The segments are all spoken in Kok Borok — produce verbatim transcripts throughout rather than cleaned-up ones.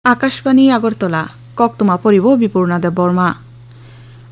Akashbani Agartala, koktwma poribo Bipurna Debbarma.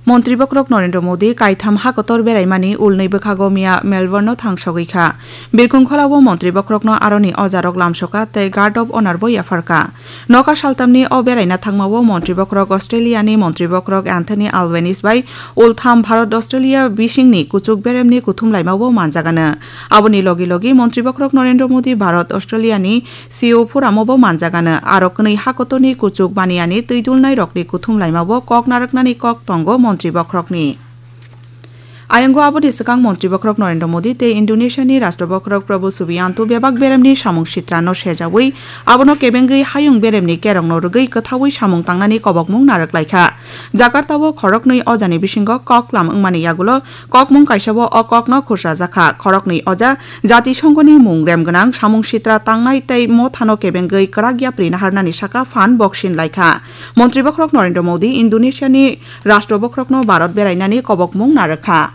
Montri bokhorok Narendra Modi kaitham hakotor beraimani ulnwi bwkhago miya Melbourne-o thangsogwi kha. Birkhung kholao montri bokhorokno aroni ojarok lamsoka tei Guard of Honour bo yapharka. Nokha saltamni o beraina thangmao montri bokhorok Australia-ni montri bokhorok Anthony Albanese bai ultham Bharat Australia bisingni kuchuk beremni kuthum laimao manjagano. Aboni logi logi montri bokhorok Narendra Modi Bharat Australia-ni C O Forum-o bo manjagano, aro kwnwi hakotorni kuchuk baniyani twi dulnairokni kuthum laimao kok narwknani kok tongo montri bokhorokni. Ayongo aboni swkang montri bokhorok Narendra Modi tei Indonesia-ni Rashtra bokhorok Prabowo Subianto bebak beremni samung sitrano sejawi abono kebengwi hayung beremni kerongno rwgwi kwthaui samung tangnani kobokmung narwk laikha. Jakarta-o khoroknwi ojani bisingo kok lam wngmani yagulo kokmung kaisao o kokno khursajakha. Khoroknwi oja Jatisonghoni mung rem gwnang samung sitra tangnai tei mothano kebengwi kwrak yapri naharnani saka phan boksin laikha. Montri bokhorok Narendra Modi Indonesia-ni Rashtra bokhorokno Bharat berainani kobokmung narwkha.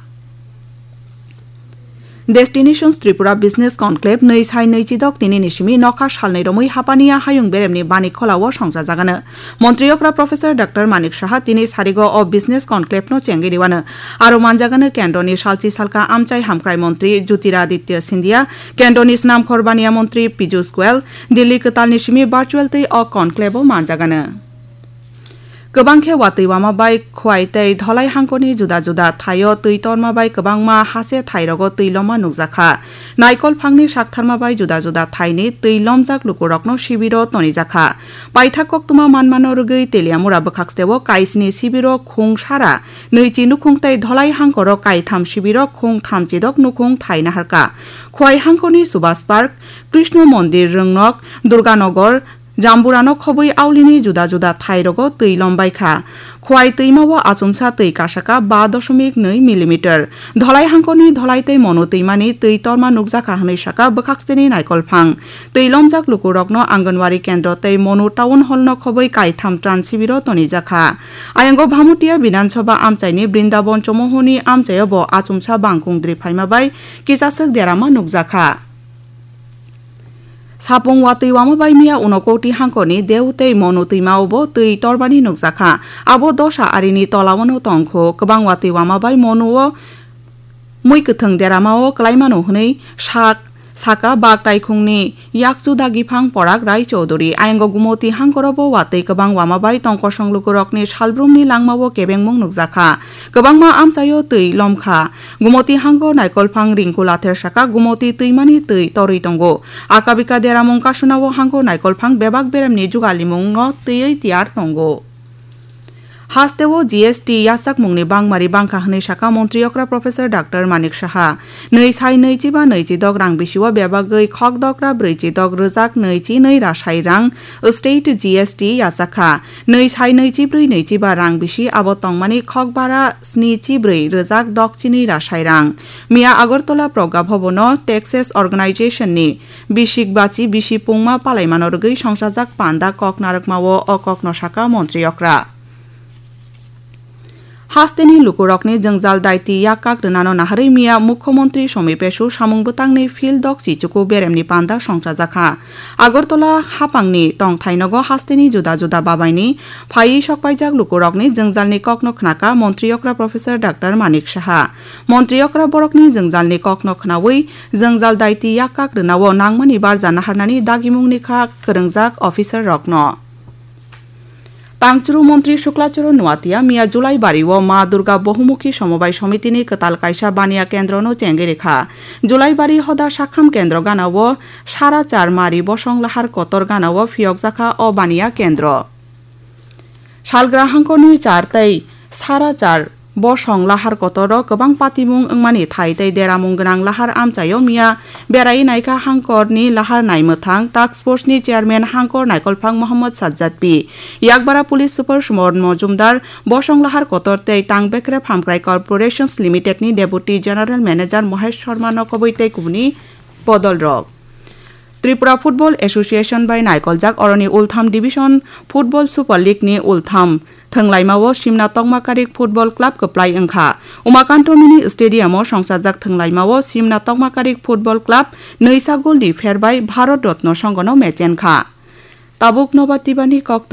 Destinations Tripura Business Conclave nwi sai nwi chidok tini ni simi nokha salnwi romwi Hapania hayung beremni bani kholao songchajagano. Montri okra Professor Doctor Manik Saha tini sarigo o Business Conclave no chengwi riwano. Aro manjagano kendroni salchi salka amchai hamkrai montri Jyotiraditya Scindia, kendroni snamkhor baniya montri Piyush Goyal, Delhi kwtalni simi virtual tei o conclave o manjagano. Kwbang khe watwi wama bai Khwai tei Dholai hangkoni juda juda thaio twi torma bai kwbangma hase thairogo twi loma nukjakha. Naikol phangni saktharma bai juda juda thaini twi lomjak lukurokno sibiro tonijakha. Paithak koktwma manmano rwgwi Teliamura bwkhaksteo kaisni sibiro khung sara nwichi nukhung tei Dholai hangkoro kaitham sibiro khung thamchidok nukhung thai naharka. Khwai hangkoni Subhas Park, Krishna Mondir Rwngnok, Durganagar, Jamburano khobwi aulini juda juda thairogo twi lombaikha. Khwai twimao achomsa twi kasaka ba doshomik nwi millimeter. Dholai hangkoni Dholai tei Monu twimani twi torma nukjakha hwnwi saka bwkhakseni naikolphang. Twi lomjak lukurokno Anganwadi kendro tei Monu town hallno khobwi kaitham tran sibiro tonijakha. Ayongo Bhamutia Bidhan Sabha amchaini Brindaban Chomohoni amchaio bo achomsa bangkung dri phaima bai kisaswk derama nukjakha. Sapung watwi wama bai miya Unakoti hangkoni Deu tei Monu twimao bo twi torbani nukjakha. Abo dosa arini tolao no tongkho. Kwbang watwi wama bai Monuo mui kwthwng deramao kwlaimano hwnwi sak saka bak taikhungni yakchu dagiphang Porak Rai Chowdhury. Ayongo Gumoti hangkoro bo watwi kwbang wama bai tongkosong lukurokni salbrumni langmao kebengmung nukjakha. Kwbangma amchaio twi lomkha. Gumoti hango naikolphang ringkul ather saka Gumoti twimani twi torwi tongo. Akabika deramung kasunao hango naikolphang bebak beremni jugalimungno twiwi tiyar tongo. Hasteo G S T yachakmungni bangmari bangkha hwnwi saka montri okra Professor Doctor Manik Saha. Nwi sai nwichi ba nwichi dok rang bisio bebagwi khok dokra brwichi dok rwjak nwichi nwi rasai rang state G S T yachakha. Nwi sai nwichi brwi nwichi ba rang bisi abo tongmani khok bara snichi brwi rwjak dokchini rasai rang. Miya Agartala Progga Bhabono Taxes Organization ni bisik bachi bisi pungma palaimano rwgwi songchajak panda kok narwkmao o kokno saka montri okra. Hasteni lukurokni jwngjal daiti yak kak rwnano naharwi miya Mukhyamantri Somi Pesu samung bwtangni field dok chichuku beremni panda songchajakha. Agartala hapangni tongthai nogo hasteni juda juda babaini phaiwi sokpaijak lukurokni jwngjalni kokno khnaka montri okra Professor Doctor Manik Saha. Montri okra borokni jwngjalni kokno khnaui jwngjal daiti yak kak rwnao nangmani barja naharnani dagimungni kha kwrwngjak officer rokno. Tangchuru montri Suklachoro Nuatia miya Julaibari o Ma Durga Bohumukhi Somobai Somitini kwtal kaisa baniya kendrono chengwi rikha. Julaibari hoda sakham kendro gana o sara char mari bosong lahar kotor gana o phiyokjakha o baniya kendro. Salgra hangkoni char tei sara char bosong lahar kotoro kwbang patimung wngmani thai tei deramung gwnang lahar amchaio miya berai naikha hangkorni lahar naimwthang task force ni chairman hangkor naikolphang Mohammad Sajjad P. Yakbara police super Suman Mojumdar, bosong lahar kotor tei tang bekrep hamkrai corporations limited ni deputy general manager Mohesh Sharma no kobwi tei kubuni bodol rok. Tripura Football Association bai naikoljak oroni ultham division Football Super League ni ultham thwnglaimao Simna Tokma Karik Football Club kwplai wngkha. Umakanto Mini Stadium o songchajak thwnglaimao Simna Tokma Karik Football Club nwisa gol ni pher bai Bharat Ratna Songho no mechenkha. Tabuk nobar tibani kok